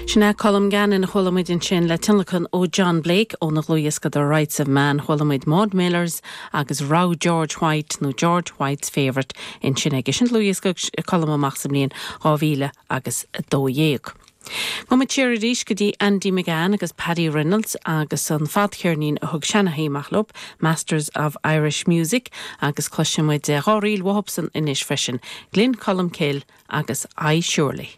Sin é Colm Gannon a chuala muid ansin le tionlacan ó John Blake óna dhlúthdhiosca The Rights of Man. Chuala muid Maud Millers agus Rogha George White nó George White's Favourite ansin aige. Sin dlúthdhiosca a thug Colm amach sa mbliain 2012. Gabhfaidh muid siar arís go dtí Andy McGann agus Paddy Reynolds agus an fadcheirnín a thug Shanaghy amach leo, Masters of Irish Music, agus cloisfidh muid dhá ríl uathubsan anois freisin, Gleann Cholm Cille agus I Surely.